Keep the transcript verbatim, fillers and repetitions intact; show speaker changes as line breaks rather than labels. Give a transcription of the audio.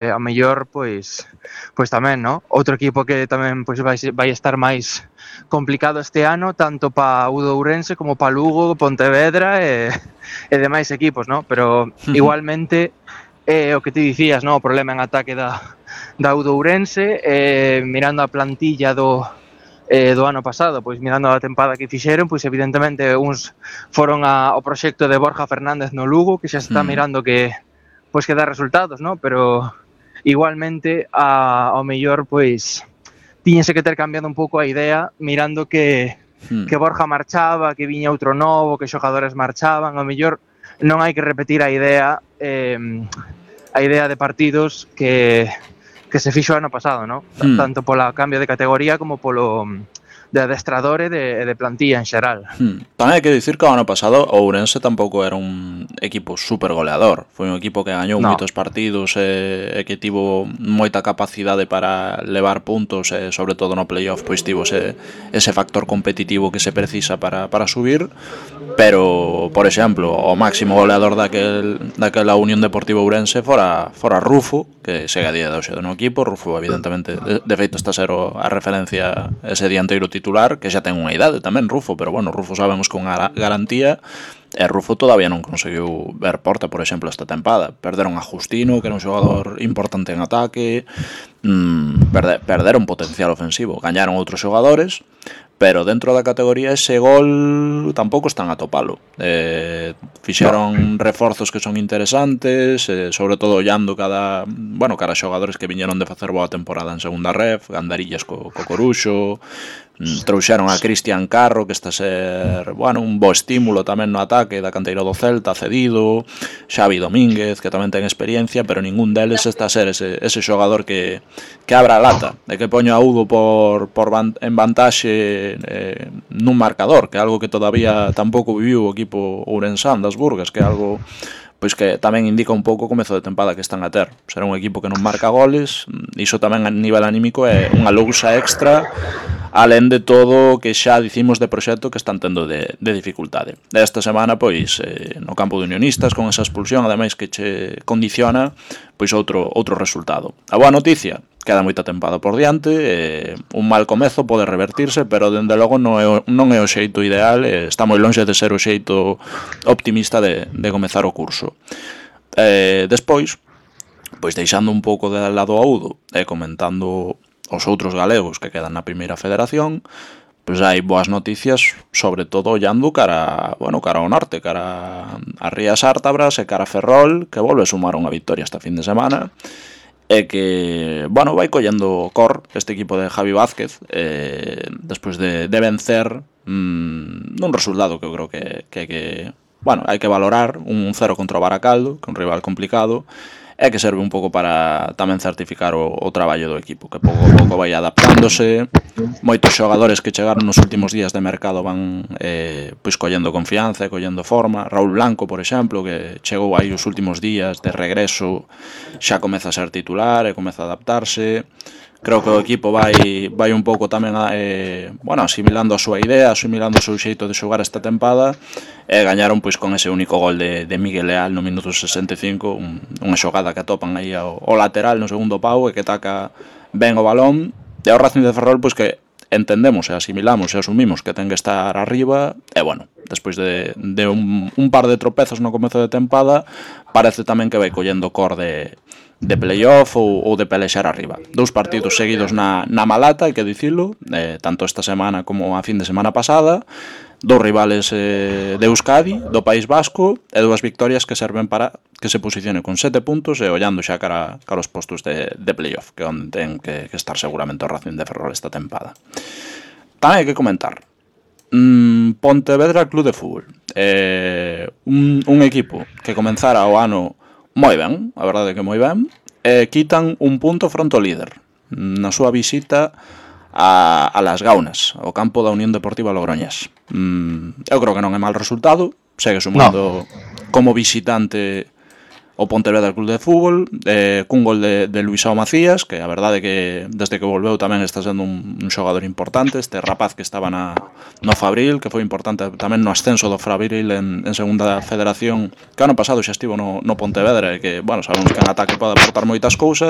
a mellor, pois, pois tamén, no? Outro equipo que tamén pois vai, vai estar máis complicado este ano, tanto pa o de Ourense como pa Lugo, Pontevedra e, e demais equipos, no? Pero igualmente, eh, o que ti dicías, no? O problema en ataque da, da U de Ourense, eh, mirando a plantilla do, eh, do ano pasado, pois mirando a tempada que fixeron, pois evidentemente uns foron a, ao proxecto de Borja Fernández no Lugo, que xa se está mirando que pois que dá resultados, no? Pero igualmente a, ao mellor pois tiñense que ter cambiado un pouco a idea mirando que que Borja marchaba, que viña outro novo, que xogadores marchaban, ao mellor non hai que repetir a idea eh, a idea de partidos que que se fixo ano pasado, no?
Hmm.
Tanto pola cambio de categoría como polo de adestrador e de, de plantilla en xeral.
Hmm. Tamén hai que dicir que o ano pasado o Ourense tampouco era un equipo super goleador. Foi un equipo que gañou
No.
moitos partidos e, e que tivo moita capacidade para levar puntos e sobre todo no playoff pois tivo ese, ese factor competitivo que se precisa para, para subir. Pero, por exemplo, o máximo goleador daquel, daquela Unión Deportiva Ourense fora, fora Rufo, que segue a día de hoxe no equipo. Rufo, evidentemente, de, de feito está a ser o, a referencia ese dianteiro titular, que xa ten unha idade tamén Rufo, pero bueno, Rufo sabemos con garantía, e Rufo todavía non conseguiu ver porta, por exemplo, esta tempada. Perderon a Justino, que era un xogador importante en ataque, mm, perde, perderon potencial ofensivo, gañaron outros xogadores, pero dentro da categoría ese gol tampouco están a topalo. Eh, fixeron reforzos que son interesantes, eh, sobre todo ollando cada, bueno, cada xogadores que viñeron de facer boa temporada en segunda ref, Gandarillas co, co Coruxo, trouxeron a Cristian Carro, que está a ser, bueno, un bo estímulo tamén no ataque da canteira do Celta, cedido, Xavi Domínguez, que tamén ten experiencia, pero ningún deles está a ser ese, ese xogador que, que abra a lata, de que poño a Udo por, por van, en vantaxe eh, nun marcador, que é algo que todavía tampouco viviu o equipo ourensán das Burgas, que é algo pois que tamén indica un pouco o comezo de tempada que están a ter. Será un equipo que non marca goles, iso tamén a nivel anímico é unha lousa extra, alén de todo o que xa dicimos de proxecto que están tendo de, de dificultade. Esta semana, pois, eh, no campo de Unionistas, con esa expulsión, ademais que che condiciona, pois outro outro resultado. A boa noticia, queda moita tempada por diante, eh, un mal comezo pode revertirse, pero dende logo non é o, non é o xeito ideal, eh, está moi longe de ser o xeito optimista de, de comezar o curso. Eh, despois, pois deixando un pouco de lado a Udo e eh, comentando os outros galegos que quedan na primeira federación, pois hai boas noticias, sobre todo ollando cara, bueno, cara ao norte, cara a Rías Ártabras e cara a Ferrol, que volve a sumar unha victoria esta fin de semana, e que, bueno, vai collendo cor este equipo de Javi Vázquez, eh, despois de, de vencer mmm, nun resultado que eu creo que, que, que bueno, hai que valorar, un cero contra o Baracaldo, que é un rival complicado, e que serve un pouco para tamén certificar o, o traballo do equipo, que pouco a pouco vai adaptándose. Moitos xogadores que chegaron nos últimos días de mercado van eh, pois collendo confianza e collendo forma. Raúl Blanco, por exemplo, que chegou aí os últimos días de regreso, xa comeza a ser titular e comeza a adaptarse. Creo que o equipo vai vai un pouco tamén a, eh, bueno, asimilando a súa idea, asimilando o seu xeito de xogar esta tempada, e gañaron pois con ese único gol de, de Miguel Leal no minuto sesenta e cinco, un, unha xogada que atopan aí ao, ao lateral no segundo pau e que taca ben o balón, e o Racing de Ferrol pois que entendemos e asimilamos e asumimos que ten que estar arriba, e bueno, despois de, de un, un par de tropezos no comezo de tempada, parece tamén que vai collendo cor de de playoff ou, ou de pelexar arriba. Dous partidos seguidos na, na Malata, hai que dicilo, eh, tanto esta semana como a fin de semana pasada, dous rivales eh, de Euskadi, do País Vasco, e dúas victorias que serven para que se posicione con sete puntos e ollando xa cara, cara os postos de, de playoff, que é onde ten que, que estar seguramente o Racing de Ferrol esta tempada. Tamén hai que comentar mm, Pontevedra Club de Fútbol, eh, un, un equipo que comenzara o ano moi ben, a verdade é que moi ben, e quitan un punto fronte ao líder na súa visita a, a Las Gaunas, ao campo da Unión Deportiva Logroñés. Mm, eu creo que non é mal resultado, segue sumando no. como visitante o Pontevedra Club de Fútbol, eh, cun gol de, de Luisao Macías, que a verdade é que desde que volveu tamén está sendo un, un xogador importante, este rapaz que estaba na, no Fabril, que foi importante tamén no ascenso do Fabril en, en segunda federación, que ano pasado xa estivo no, no Pontevedra, e que, bueno, sabemos que en ataque pode aportar moitas cousas,